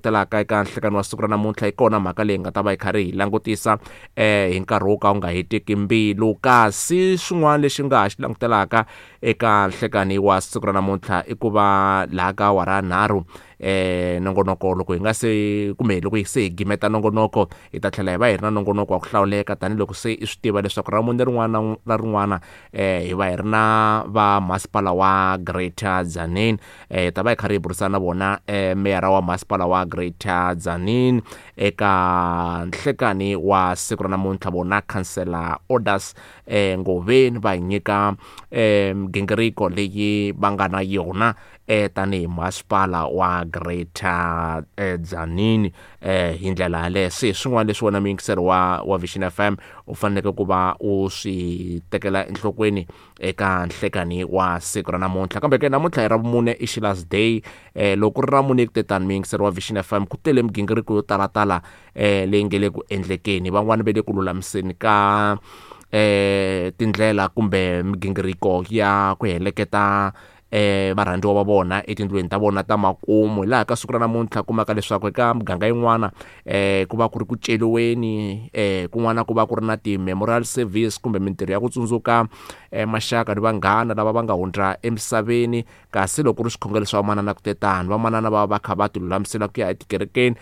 Telaka eka nhlekani wa siku ra namuntlha, yi kona mhaka leyi nga ta va yi karhi hi langutisa hi nkarhi wo ka wu nga heteki mbilu. Kasi xin'wana lexi nga ha xi langutelaka eka nhlekani wa siku ra namuntlha i ku va laha ka awara 3 nongonoko loko hi nga se kumbe loko hi se hi gimeta nongonoko hi ta tlhela hi va hi ri na nongonoko wa ku hlawuleka, tanihiloko se i swi tiva leswaku ra mune rin'wana na rin'wana hi va hi ri na va masipala wa Greater Tzaneen. Hi ta va hi karhi hi burisana na vona meyara wa masipala wa Greater Tzaneen eka nhlekani wa siku ra namuntlha, vona Councillor Orders Ngoveni, va hi nyika migingiriko leyi va nga na yona tanihi masipala wa Greater Tzaneen. Hi ndlela yaleyo se swin'wana leswi wena muyingiseri wa Vision FM u faneleke ku va u swi tekela enhlokweni eka nhlekani wa siku ra namuntlha. Kambe ke namuntlha hi ra vumune i Sheila's Day. Loko ku ri ra mune ku tetani muyingiseri wa Vision FM, ku tele migingiriko yo talatala leyi nge le ku endlekeni. Van'wani va le ku lulamiseni ka tindlela kumbe migingiriko ya ku heleketa varhandziwa va vona etindlwini ta vona ta makumu. Hi laha ka siku ra namuntlha kumaka leswaku eka muganga yin'wana ku va ku ri ku celiweni, kun'wana ku va ku ri na ti-memorial service kumbe mintirho ya ku tsundzuka maxaka ni vanghana lava va nga hundza emisaveni. Kasi loko ku ri swikhongelo swa vamanana ku tetani, vamanana va va kha va ti lulamisela ku ya etikerekeni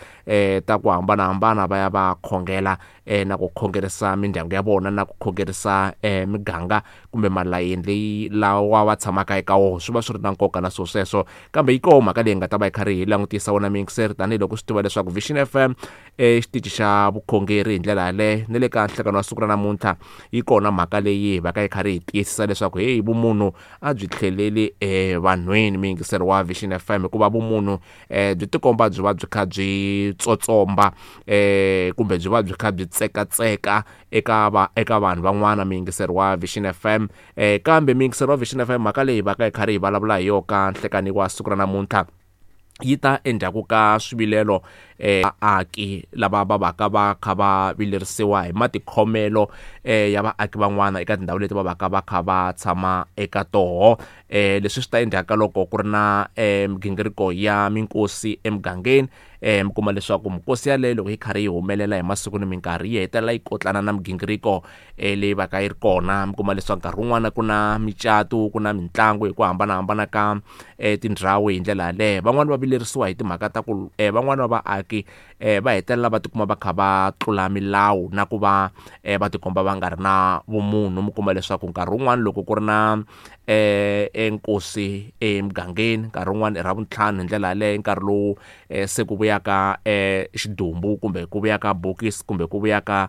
ta ku hambanahambana va ya va khongela na ku khongerisa mindyangu ya vona na ku khongerisa miganga kumbe malayeni leyi lawa va tshamaka eka wona. Swi va swi ri na nkoka na swilo sweswo. Kambe yi koho mhaka leyi nga ta va yi karhi hi langutisa wona miyingiseri, tanihiloko swi tiva leswaku Vision FM xitichi xa vukhongeri hi ndlela yaleyo. Ni le ka nhlekano wa siku ra namuntlha yi kona mhaka leyi hi va ka yi karhi hi tiyisisa leswaku heyi vumunhu a byi tlheleli evanhwini, muyingiseri wa Vision FM, hikuva vumunhu byi tikomba byi va byi kha byi tsotsomba kumbe byi va byi kha byi tsekatseka eka vanhu van'wana, muyingiseri wa Vision FM. Kambe muyingiseri wa Vision FM, mhaka leyi va ka hi karhi hi vulavula hi yona ka nhlekani wa siku ra namuntlha yi ta endzhaku ka swivilelo vaaki lava va vaka va kha va vilerisiwa hi matikhomelo ya vaaki van'wana eka tindhawu leti va vaka va kha va tshama eka toho. Leswi swi ta endzhaku ka loko ku ri na migingiriko ya minkosi emugangeni. Mi kuma leswaku minkosi yaleyo loko yi karhi yi humelela hi masiku ni minkarhi yi hetelela yi kotlana na migingiriko leyi va ka yi ri kona. Mi kuma leswaku nkarhi wun'wana ku na micato, ku na mitlangu hi ku hambanahambana ka tindhawu. Hi ndlela yaleyo van'wani va vilerisiwa hi timhaka ta ku van'wani va vaaki va hetelela va tikuma va kha va tlula milawu na ku va va tikomba va nga ri na vumunhu. Mi kuma leswaku nkarhi wun'wani loko ku ri na enkosi emugangeni, nkarhi wun'wani i ra vuntlhanu, hi ndlela yaleyo nkarhi lowu se ku vuyaka xidumbu kumbe ku vuyaka bokisi kumbe ku vuyaka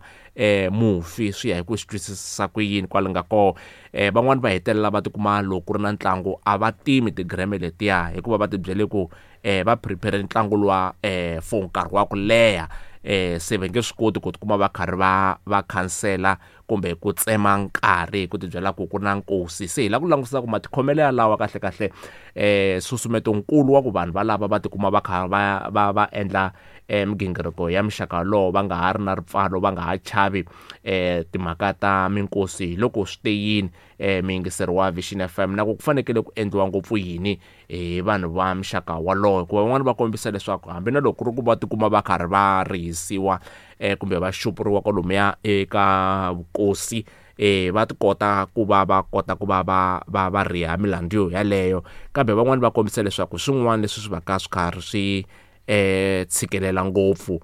mufi, swi ya hi ku swi twisisa ku yini kwale nga koho. Van'wani va hetelela va tikuma loko ku ri na ntlangu a va timi tigireme letiya, hikuva va tibyele ku va prepare ntlangu luwa for nkarhi wa ku leha, se va nge swi koti ku tikuma va karhi va khansela kumbe ku tsema nkarhi hi ku tibyela ku ku na nkosi. Se hi lava ku langutisa ku matikhomelo ya lawa kahle kahle nsusumeto nkulu wa ku vanhu valava va tikuma va kha va endla migingiriko ya muxaka wolowo, va nga ha ri na ripfalo, va nga ha chavi timhaka ta minkosi, hi loko swi te yini muyingiseri wa Vision FM, na ku ku fanekele ku endliwa ngopfu yini hi vanhu va muxaka wolowo. Hikuva van'wani va kombisa leswaku hambi na loko ku ri ku va tikuma va karhi va rihisiwa kumbe va xupuriwa kwalomuya eka vukosi, va ti kota ku va va kota ku va va riha milandzu yo yaleyo, kambe van'wani va kombisa leswaku swin'wana leswi swi va ka swi karhi swi tshikelela ngopfu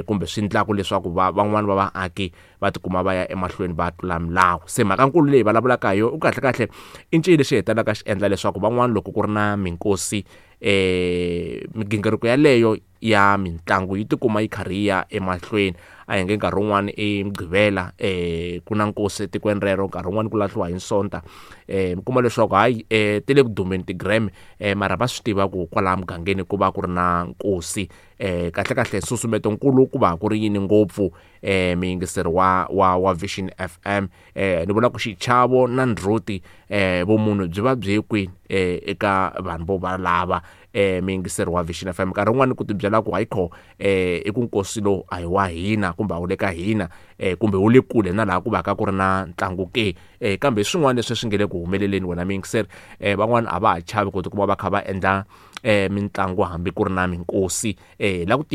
kumbe swi endlaka leswaku van'wani va vaaki va tikuma va ya emahlweni va tlula milawu. Se mhaka nkulu leyi vulavulaka hi yona u kahle kahle i ncini lexi hetelelaka xi endla leswaku van'wani loko ku ri na minkosi migingiriko yaleyo ya mitlangu yi tikuma yi karhi yi ya emahlweni. A hi nge nkarhi wun'wani i Mugqivela ku na nkosi etikweni rero, nkarhi wun'wani ku lahliwa hi Sonta, mi kuma leswaku hayi ti le ku dumeni ti-gram, mara va swi tiva ku kwalaha mugangeni ku va ku ri na nkosi. Kahle kahle nsusumeto nkulu ku va ku ri yini ngopfu muyingiseri wa Vision FM? Ni vula ku xichavo na ndzhuti, vumunhu byi va byi ye kwini eka vanhu vo valava muyingiseri wa Vision FM? Nkarhi wun'wani ku tibyela ku hayikho i ku nkosi lowu a hi wa hina kumbe a wu le ka hina, kumbe wu le kule na laha ku va ka ku ri na ntlangu ke, kambe swin'wana leswi swi nge le ku humeleleni wena muyingiseri, van'wani a va ha chavi ku tikuma va kha va endla mitlangu hambi ku ri na minkosi. La ku tiva.